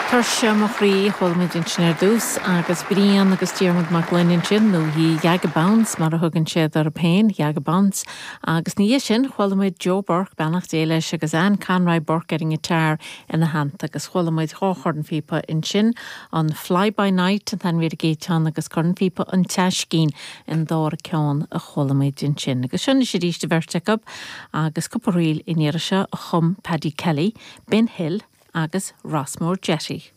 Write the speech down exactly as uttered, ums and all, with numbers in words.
Tuirse mo chroí chuala muid ansin ar dtús agus Brian agus Diarmuid Mac Gloinn ansin nó The Vagabonds mar a thugann siad orthu féin Vagabonds agus ina dhiaidh sin chuala muid Joe Burke beannacht Dé leis agus Anne Conroy Burke ar an ngiotár ina theannta agus chuala muid dhá chornphíopa ansin an Fly by Night an t-ainm ar an gcéad cheann agus cornphíopa an Teaiscín an dara ceann a chuala muid ansin. Agus sin is arís an bheirt acu agus cúpla ríl in iar seo a chum Paddy Kelly, Ben Hill agus Rossmore Jetty.